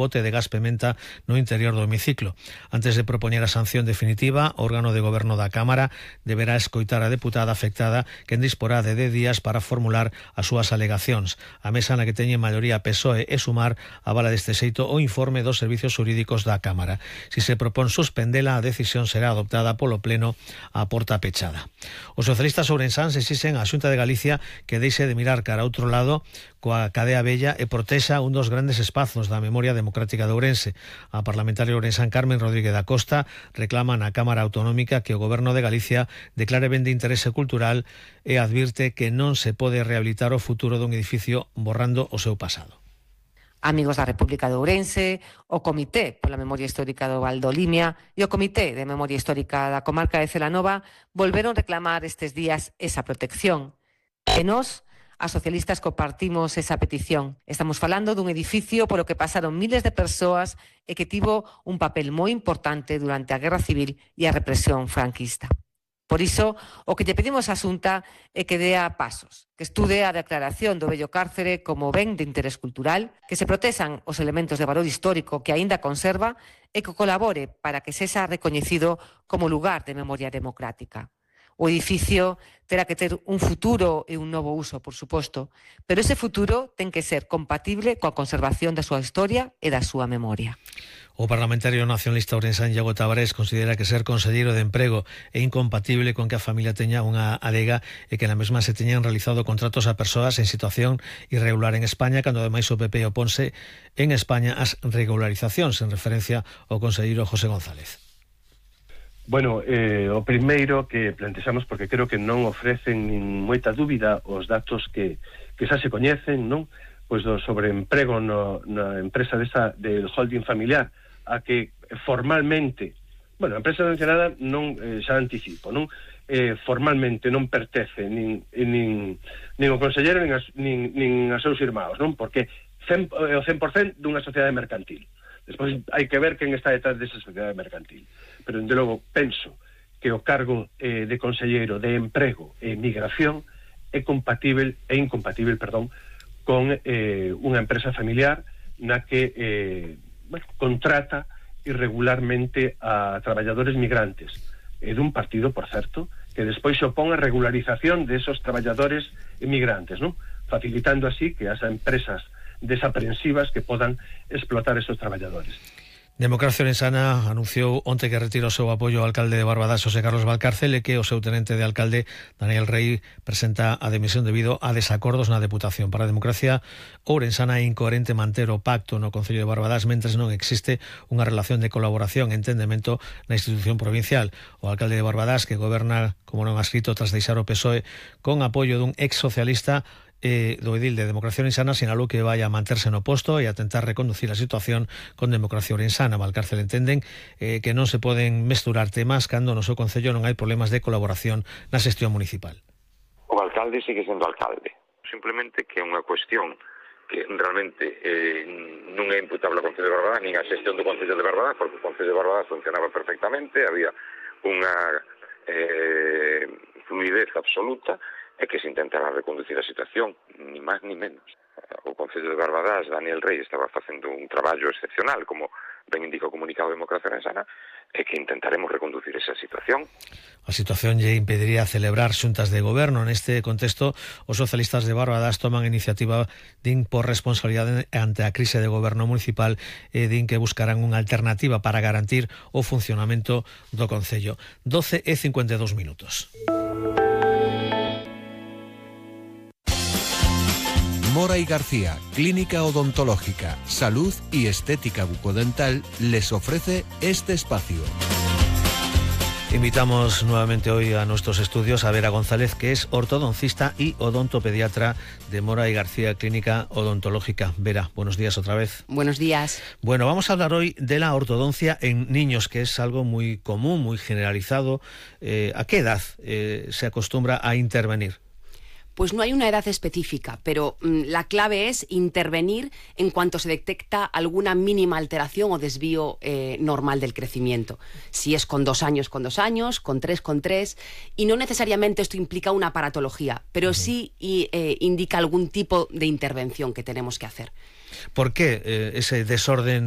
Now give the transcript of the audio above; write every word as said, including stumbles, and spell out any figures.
bote de gas pementa no interior do hemiciclo. Antes de propoñer a sanción definitiva, o órgano de goberno da Cámara deberá escoitar a deputada afectada, quen disporá de dez días para formular as súas alegacións. A mesa na que teñen maioría P S O E e Sumar avala deste xeito o informe dos servizos xurídicos da Cámara. Si se propón suspendela, a decisión será adoptada polo Pleno a porta pechada. Os socialistas ourensáns exixen á Xunta de Galicia que deixe de mirar cara a outro lado coa cadea vella e protexa un dos grandes espazos da memoria democrática de Ourense. A parlamentaria ourensán Carmen Rodríguez da Costa reclama na Cámara Autonómica que o Goberno de Galicia declare ben de interese cultural e advirte que non se pode rehabilitar o futuro dun edificio borrando o seu pasado. Amigos da República de Ourense, o Comité pola Memoria Histórica do Val do Limia e o Comité de Memoria Histórica da Comarca de Celanova volveron reclamar estes días esa protección. E nós, as socialistas, compartimos esa petición. Estamos falando dun edificio polo que pasaron miles de persoas e que tivo un papel moi importante durante a Guerra Civil e a represión franquista. Por iso, o que lle pedimos á Xunta é que dea pasos, que estude a declaración do vello cárcere como ben de interés cultural, que se protexan os elementos de valor histórico que aínda conserva e que colabore para que sexa recoñecido como lugar de memoria democrática. O edificio terá que ter un futuro e un novo uso, por suposto, pero ese futuro ten que ser compatible coa conservación da súa historia e da súa memoria. O parlamentario nacionalista ourensán Iago Tavares considera que ser conselleiro de emprego é incompatible con que a familia teña unha adega e que na mesma se teñan realizado contratos a persoas en situación irregular en España, cando ademais o P P oponse en España as regularizacións, en referencia ao conselleiro José González. Bueno, eh, o primeiro que plantexamos, porque creo que non ofrecen nin moita dúbida os datos que, que xa se coñecen, non? Pois do sobreemprego no, na empresa desa, del holding familiar, a que formalmente, bueno, a empresa mencionada non, eh, xa anticipo, non? Eh, formalmente non pertence nin, nin, nin o conselleiro nin, as, nin, nin as seus irmãos, non? Porque cen, o cen por cento dunha sociedade mercantil. Despois hai que ver quen está detrás desa sociedade mercantil. Pero, de logo, penso que o cargo eh, de conselleiro de emprego e migración é compatible, é incompatible, perdón, con eh, unha empresa familiar na que eh, bueno, contrata irregularmente a traballadores migrantes. É dun partido, por certo, que despois se opón a regularización de esos traballadores migrantes, non? Facilitando así que as empresas desaprensivas que podan explotar esos traballadores. Democracia Ourensana anunciou onte que retira o seu apoio ao alcalde de Barbadás, José Carlos Valcárcel, e que o seu tenente de alcalde, Daniel Rey, presenta a dimisión debido a desacordos na Deputación. Para a Democracia Ourensana é incoherente manter o pacto no Concello de Barbadás mentres non existe unha relación de colaboración e entendemento na institución provincial. O alcalde de Barbadás, que goberna, como non ha escrito, tras deixar o P S O E con apoio dun ex socialista, Eh, do edil de Democracia Ourensana, sinalou que vai a manterse no posto e a tentar reconducir a situación con Democracia Ourensana. Valcárcel entenden eh, que non se poden mesturar temas cando no seu concello non hai problemas de colaboración na xestión municipal. O alcalde sigue sendo alcalde, simplemente que é unha cuestión que realmente eh, non é imputable ao Concello de Barbadás nin a xestión do Concello de Barbadás, porque o Concello de Barbadás funcionaba perfectamente, había unha eh, fluidez absoluta, é que se intentara reconducir a situación, ni máis ni menos. O Concello de Barbadás, Daniel Rey, estaba facendo un traballo excepcional, como ben indica o comunicado de Democracia Ourensana, e que intentaremos reconducir esa situación. A situación lle impediría celebrar xuntas de goberno. Neste contexto, os socialistas de Barbadás toman iniciativa din por responsabilidade ante a crise de goberno municipal e din que buscarán unha alternativa para garantir o funcionamento do Concello. doce e cincuenta e dous minutos. Mora y García, Clínica Odontológica, Salud y Estética Bucodental, les ofrece este espacio. Invitamos nuevamente hoy a nuestros estudios a Vera González, que es ortodoncista y odontopediatra de Mora y García, Clínica Odontológica. Vera, buenos días otra vez. Buenos días. Bueno, vamos a hablar hoy de la ortodoncia en niños, que es algo muy común, muy generalizado. Eh, ¿A qué edad eh, se acostumbra a intervenir? Pues no hay una edad específica, pero mmm, la clave es intervenir en cuanto se detecta alguna mínima alteración o desvío eh, normal del crecimiento. Si es con dos años, con dos años, con tres, con tres, y no necesariamente esto implica una aparatología, pero uh-huh. sí y, eh, indica algún tipo de intervención que tenemos que hacer. ¿Por qué eh, ese desorden